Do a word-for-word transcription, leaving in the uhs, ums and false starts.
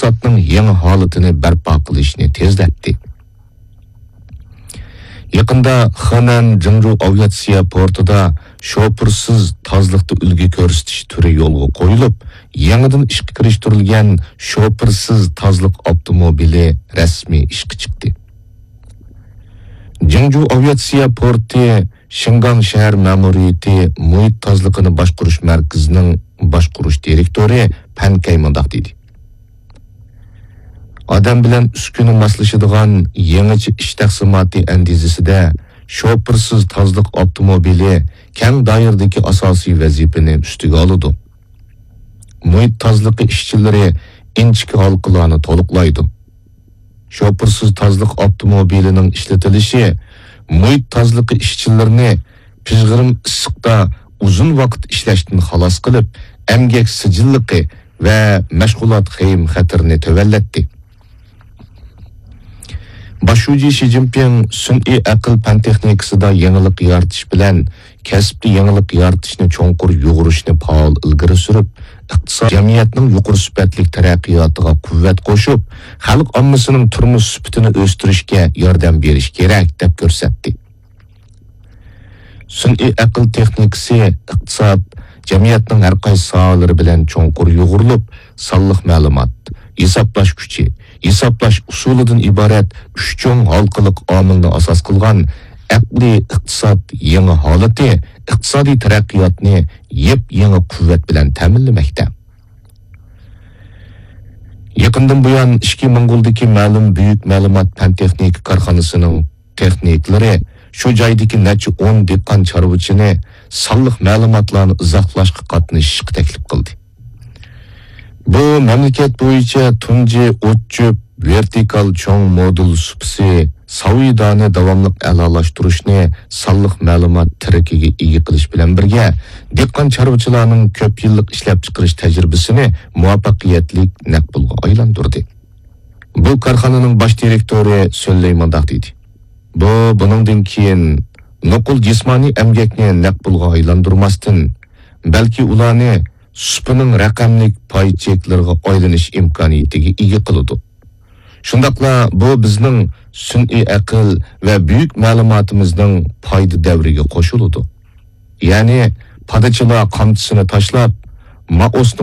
ئىقتىسادنىڭ يېڭى ھالىتىنى بەرپا قىلىشنى تېزلەتتى. يېقىندا خېنەن جىڭجۇ ئاۋىئاتسىيە پورتىدا شوپۇرسىز تازىلىقتا ئۈلگە كۆرسىتىش تۈرى يولغا قويۇلۇپ، يېڭىدىن ئىشقا كىرىشتۈرۈلگەن شوپۇرسىز تازىلىق ئاپتوموبىلى رەسمىي ئىشقا چىقتى. جىڭجۇ ئاۋىئاتسىيە پورتى شىنگاڭ شەھەر مەمۇرىيىتى مۇھىت تازىلىقىنى باشقۇرۇش مەركىزىنىڭ باشقۇرۇش دىرېكتورى پەن كەي مۇنداق دېدى: ئادەم بىلەن ئۈسكۈنە ماسلىشىدىغان يېڭىچە ئىش تەقسىماتى ئەندىزىسىدە شوپۇرسىز تازىلىق ئاپتوموبىلى كەڭ دائىرىدىكى ئاساسىي ۋەزىپىنى ئۈستىگە ئالىدۇ. مۇھىت تازىلىقى ئىشچىلىرى ئىنچىكە ھالقىلارنى تولۇقلايدۇ. شوپۇرسىز تازىلىق ئاپتوموبىلىنىڭ ئىشلىتىلىشى مۇھىت تازىلىقى ئىشچىلىرىنى پىژغىرىم ئىسسىقتا ئۇزۇن ۋاقىت ئىشلەشتىن خالاس قىلىپ، ئەمگەك سىجىللىقى ۋە مەشغۇلات خېيىم خەتىرىنى تۆۋەنلەتتى. باش شۇجى شى جىنپىڭ سۈنئىي ئەقىل پەن تېخنىكىسىدا يېڭىلىق يارىتىش بىلەن كەسىپتە يېڭىلىق يارىتىشنى چوڭقۇر يۇغۇرۇشنى پائال ئىلگىرى سۈرۈپ، ئىقتىساد، جەمئىيەتنىڭ يۇقىرى سۈپەتلىك تەرەققىياتىغا قۇۋۋەت قوشۇپ، خەلق ئاممىسىنىڭ تۇرمۇش سۈپىتىنى ئۆستۈرۈشكە ياردەم بېرىش كېرەك، دەپ كۆرسەتتى. سۈنئىي ئەقىل تېخنىكىسى ئىقتىساد، جەمئىيەتنىڭ ھەر قايسى ساھەلىرى بىلەن چوڭقۇر يۇغۇرۇلۇپ، سانلىق مەلۇمات، ھېسابلاش كۈچى، ھېسابلاش ئۇسۇلىدىن ئىبارەت ئۈچ چوڭ ھالقىلىق ئامىلنى ئاساس قىلغان ئەقلىي ئىقتىساد يېڭى ھالىتى ئىقتىسادىي تەرەققىياتنى يېپيېڭى قۇۋۋەت بىلەن تەمىنلىمەكتە. يېقىندىن بۇيان ئىچكى موڭغۇلدىكى مەلۇم بۈيۈك مەلۇمات پەن تېخنىكا كارخانىسىنىڭ تېخنىكلىرى شۇ جايدىكى نەچچە ئون دېھقان چارۋىچىنى سانلىق مەلۇماتلارنى ئىزاھلاشقا قاتنىشىشقا تەكلىپ قىلدى. بۇ مەملىكەت بويىچە تۇنجى ئوت-چۆپ ۋېرتىكال چوڭ مودۇل سۇپىسى ساۋىدانى داۋاملىق ئەلالاشتۇرۇشنى سانلىق مەلۇمات تىرىكىگە ئىگە قىلىش بىلەن بىرگە، دېھقان چارۋىچىلارنىڭ كۆپ يىللىق ئىشلەپچىقىرىش تەجرىبىسىنى مۇۋەپپەقىيەتلىك نەق پۇلغا ئايلاندۇردى. بۇ كارخانىنىڭ باش دىرېكتورى سۆللەي مۇنداق دېدى: بۇ، بۇنىڭدىن كېيىن نوقۇل جىسمانىي ئەمگەكنى نەق پۇلغا ئايلاندۇرماستىن، بەلكى ئۇلارنى سۇپىنىڭ رەقەملىك پاي چېكلىرىغا ئايلىنىش ئىمكانىيىتىگە ئىگە قىلىدۇ. شۇنداقلا بۇ بىزنىڭ سۈنئىي ئەقىل ۋە بۈيۈك مەلۇماتىمىزنىڭ پايدا دەۋرىگە قوشۇلىدۇ. يەنى پادىچىلار قامچىسىنى تاشلاپ، مائۇسنى